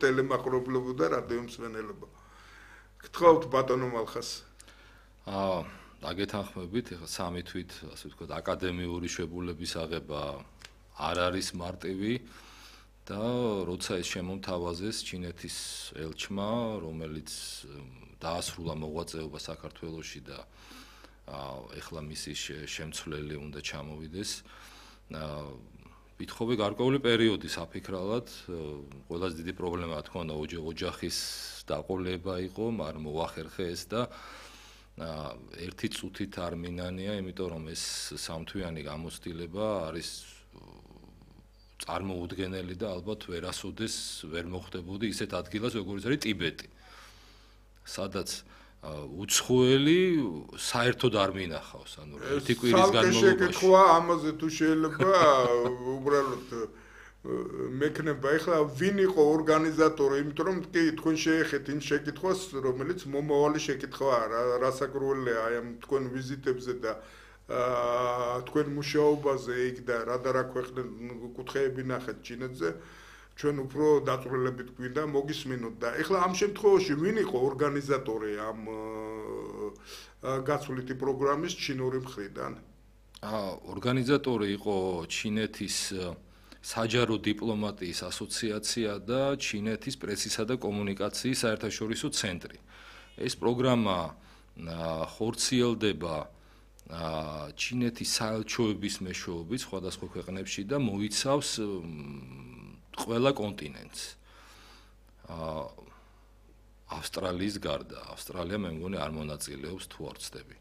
ტელემაყურებლებო და რადიო მსმენელებო. გთხოვთ ბატონო მალხას. დაგეთანხმებით, ეხლა სამი თვით, ასე ვთქვათ, აკადემიური შებულების აღება არ არის მარტივი და როცა ეს შემომთავაზეს ჩინეთის ელჩმა, რომელიც დაასრულა მოღვაწეობა საქართველოში და ეხლა მისი შემცვლელი უნდა ჩამოვიდეს, ვითხოვე გარკვეული პერიოდი საფიქრალად, ყველაზე დიდი პრობლემა თქო უნდა ოჯახის დაყოლება იყო, მაგრამ მოახერხე ეს და ერთი წუთით არ მინანია, იმიტომ რომ ეს სამთვიანი გამოცდილება არის წარმოუდგენელი და ალბათ ვერასოდეს ვერ მოხდებოდი ისეთ ადგილას, როგორც არის ტიბეტი. სადაც უცხოელი საერთოდ არ მინახავს, ანუ ერთი კვირის განმავლობაში. შეკითხვა ამაზე თუ შეიძლება უბრალოდ მექნება ეხლა ვინ იყო ორგანიზატორი, იმიტომ რომ კი თქვენ შეეხეთ იმ შეკითხვას, რომელიც მომავალი შეკითხვაა, რასაკრულია აი ამ თქვენ ვიზიტებზე და თქვენ მუშაობაზე იქ და რა კუთხეები ნახეთ ჩინეთზე, ჩვენ უფრო დაწვრილებით გვინდა მოგისმინოთ და ეხლა ამ შემთხვევაში ვინ იყო ორგანიზატორი ამ გაცვლითი პროგრამის ჩინური მხრიდან? ორგანიზატორი იყო ჩინეთის საჯარო დიპლომატიის ასოციაცია და ჩინეთის პრესისა და კომუნიკაციის საერთაშორისო ცენტრი. ეს პროგრამა ხორციელდება ჩინეთის საელჩოების მეშვეობით სხვადასხვა ქვეყნებში და მოიცავს ყველა კონტინენტს. ავსტრალიის გარდა, ავსტრალია მე მგონი არ მონაწილეობს თუ არ ვცდები.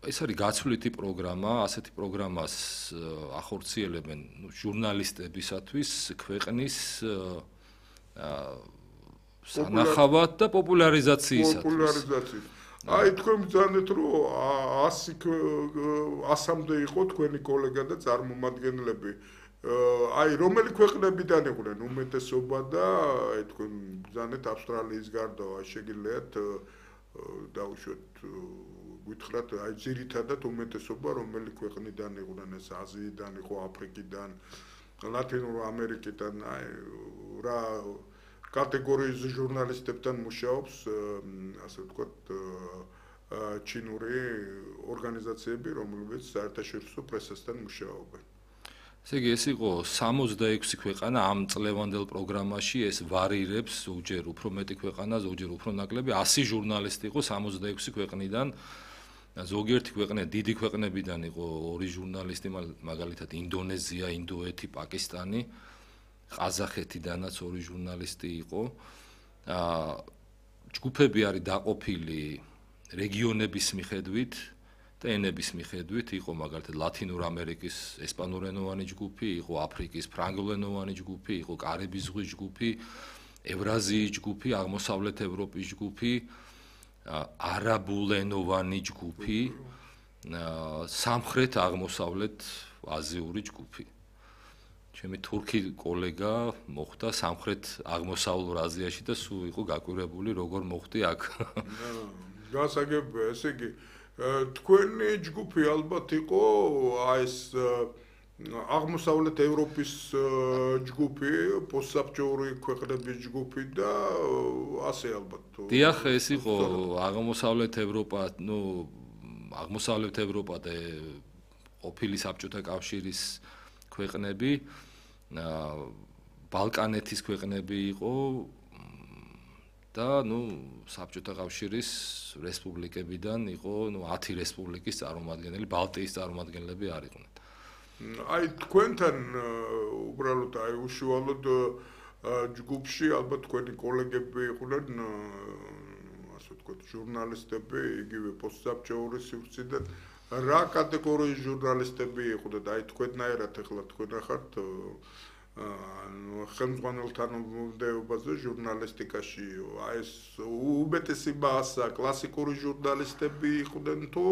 ეს არის გაცვლითი პროგრამა, ასეთი პროგრამას ახორციელებენ ჟურნალისტებისათვის ქვეყნის სანახავად და პოპულარიზაციისათვის. აი თქვენ ბრძანეთ რომ 100-მდე იყო თქვენი კოლეგა და წარმომადგენლები. აი რომელი ქვეყნებიდან იყვნენ უმეტესობა და აი თქვენ ბრძანეთ ავსტრალიის გარდა შეგიძლიათ დაუშვათ გითხრათ აი ძირითადად უმეტესობა რომელი ქვეყნიდან იყვნენ ეს აზიიდან იყო აფრიკიდან ლათინურ ამერიკიდან აი რა კატეგორიის ჟურნალისტებთან მუშაობს ასე ვთქვათ ჩინური ორგანიზაციები რომლებიც საერთაშორისო პრესასთან მუშაობენ. ესე იგი ეს იყო 66 ქვეყანა ამ წლევანდელ პროგრამაში ეს ვარირებს ზოგჯერ უფრო მეტი ქვეყანა ზოგჯერ უფრო ნაკლები 100 ჟურნალისტი იყო 66 ქვეყნიდან ზოგიერთი ქვეყნა დიდი ქვეყნებიდან იყო 2 ჟურნალისტი მაგალითად ინდონეზია, ინდოეთი, პაკისტანი, ყაზახეთიდანაც 2 ჟურნალისტი იყო. ჯგუფები არის დაყოფილი რეგიონების მიხედვით და ენების მიხედვით იყო მაგალითად ლათინურ ამერიკის ესპანურენოვანი ჯგუფი, იყო აფრიკის ფრანგულენოვანი ჯგუფი, იყო კარიბის ზღვის ჯგუფი, ევრაზიის ჯგუფი, აღმოსავლეთ ევროპის ჯგუფი, არაბულენოვანი ჯგუფი, სამხრეთ აღმოსავლეთ აზიური ჯგუფი. ჩემი თურქი კოლეგა მოხვდა სამხრეთ აღმოსავლურ აზიაში და სულ იყო გაკვირვებული როგორ მოხვდი აქ. გასაგებია, ესე იგი თქვენი ჯგუფი ალბათ იყო აი ეს აღმოსავლეთ ევროპის ჯგუფი, პოსტსაბჭოური ქვეყნების ჯგუფი და ასე ალბათ. დიახ, ეს იყო აღმოსავლეთ ევროპა, აღმოსავლეთ ევროპა და ყოფილი საბჭოთა კავშირის ქვეყნები, ბალკანეთის ქვეყნები იყო და საბჭოთა კავშირის რესპუბლიკებიდან იყო 10 რესპუბლიკის წარმომადგენელი, ბალტიის წარმომადგენლები არ იყვნენ. აი თქვენთან უბრალოდ აი უშუალოდ ჯგუფში ალბათ თქვენი კოლეგები იყვნენ ასე ვთქვათ ჟურნალისტები, იგივე პოსტსაბჭოური სივრციდან რა კატეგორიის ჟურნალისტები იყვნენ? აი თქვენნაირად ეხლა თქვენ ახართ ხელმძღვანელთან მომდეობაზე ჟურნალისტიკაში აი ეს უმეტესი მასა კლასიკური ჟურნალისტები იყვნენ თუ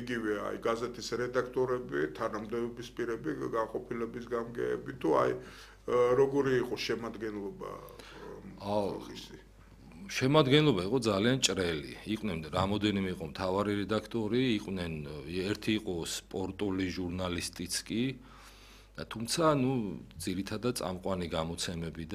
იგივე აი გაზეთის რედაქტორები, თანამდებობის პირები, განყოფილების გამგეები თუ აი როგორი იყო შემადგენლობა? შემადგენლობა იყო ძალიან ჭრელი. იყვნენ რამოდენიმე იყო მთავარი რედაქტორი, იყვნენ ერთი იყო სპორტული ჟურნალისტიც კი თუმცა, ძირითადად წამყვანი გამოცემებიდან